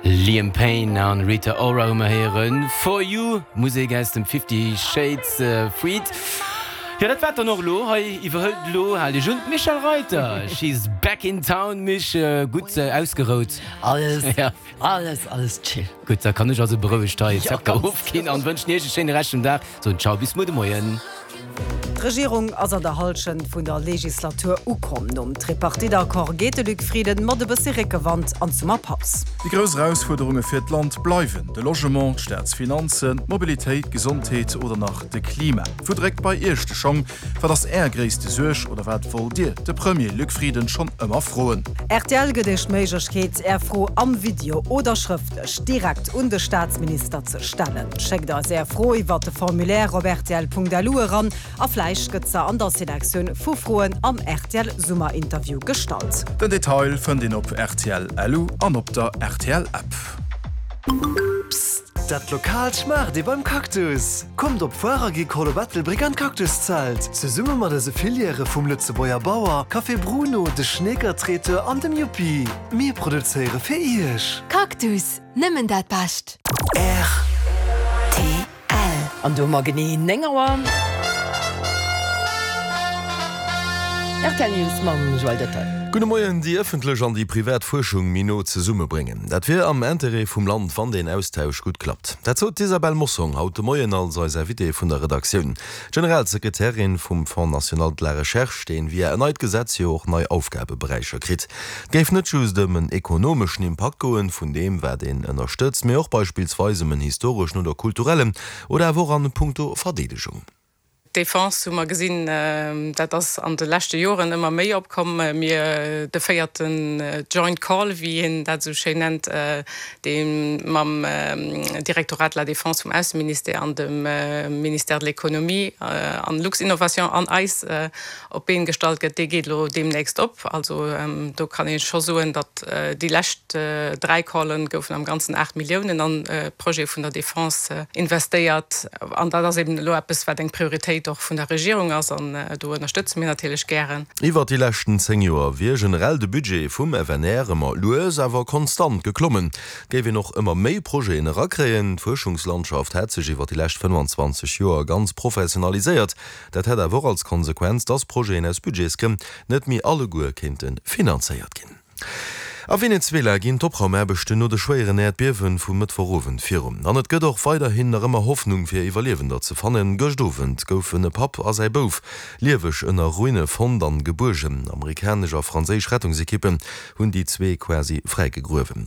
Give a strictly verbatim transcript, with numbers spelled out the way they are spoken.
Liam Payne an Rita Ora hu mer héieren For You, Musek aus dem Fifty Shades Freed. Jo, dat war et dann och elo. Hei iwwerhëlt elo, haalt iech un, d'Michèle Reiter. She's back in town. Mich, gutt ausgerout? Alles, alles, alles chill. Gutt, da kann ech also berouegt hei Zepter ofginn an wënschen iech e schéine Rescht vum Dag. Soen Ciao, bis muer de Moien. D'Regierung ass an der Hallschent vun der Legislatur ukomm. Nom Tripartite-Accord geet de Luc Frieden mat e bëssi Réckewand an d'Summerpaus. Déi grouss Erausfuerderunge fir d'Land bleiwen de Logement, d'Staatsfinanzen, d'Mobilitéit, d'Gesondheet oder nach de Klima. Wou dréckt bei Iech de Schong? Wat ass Är gréisste Suerg oder wat wollt Dir de Premier Luc Frieden schonn ëmmer froen? Rtl gëtt Iech d'Méiglechkeet, Är Fro am Video oder schrëftlech direkt un de Staatsminister ze stellen. Schéckt eis Är Fro iwwert de Formulaire op rtl.lu eran a vläicht gëtt se an der Selektioun vu Froen am rtl Summerinterview gestallt. Den Detail fënnt een op rtl.lu an op der rtl App. Psst, dat Lokaalt schmaacht ee beim Cactus! Kommt op Foire Agricole op Ettelbréck an d'Cactuszelt! Zesumme mat eise Filièrë vum Lëtzebuerger Bauer, Café Bruno, de Schneeker Traiteur an dem Yuppi. Mir produzéiere fir Iech! Cactus, nëmmen dat Bescht! Rtl. An do hu mer genee néng Auer. Rtl News mam Joël Dettol. Gudde Moien. Déi ëffentlech an déi privat Fuerschung méi no zesummebréngen, dat wier am Interêt vum Land, wann deen Austausch gutt klappt. Dat sot d'Isabelle Mossong haut de Moien als eis Invitée vun der Redaktioun. D'Generalsekretärin vum Fonds national de la recherche, deen via en neit Gesetz jo och nei Aufgabeberäicher kritt. Et géif net just ëm en ekonomeschen Impakt goen, vun deem wat een ënnerstëtzt, mee och beispillsweis ëm en historeschen oder kulturellen oder awer och an puncto Verdeedegung. D'Defense hu mer gesinn, dat ass an de leschte Joren ëmmer méi opkomm. Mir, de véierten Joint Call, wéi een dat esou schéin nennt, dee mam Directorat de la Défense vum Ausseministère an dem Ministère de l'Économie an Luxinnovation an eis op d'Been gestallt gëtt, dee geet elo deemnächst op. Also do kann ee scho soen, datt déi lescht dräi Callen goufen am Ganzen aacht Milliounen an Projete vun der Defense investéiert. An dat ass eben elo eppes, wat eng Prioritéit och vun der Regierung ass an do ënnerstëtze mir natierlech gären. Iwwert déi leschten zéng Joer wier generell de Budget vum F N R ëmmer lues awer konstant geklommen. Et géif een och ëmmer méi Projeten erakréien. D'Fuerschungslandschaft hätt sech iwwer déi lescht fënnfanzwanzeg Joer ganz professionaliséiert. Dat hätt awer och als Konsequenz, dass Projeten aus Budgetsgrënn net méi alleguer kéinte finanzéiert ginn. A Venezuela ginn d'Opraumaarbechten no de schwéieren Äerdbiewe vum Mëttwochowend virun. An et gëtt och weiderhin nach ëmmer Hoffnung fir Iwwerliewender ze fannen. Gëscht Owend goufen e Papp a säi Bouf lieweg ënner Ruine fonnt an gebuergen. Amerikanesch a franséisch Rettungsekippen hunn déi zwee quasi fräigegruewen.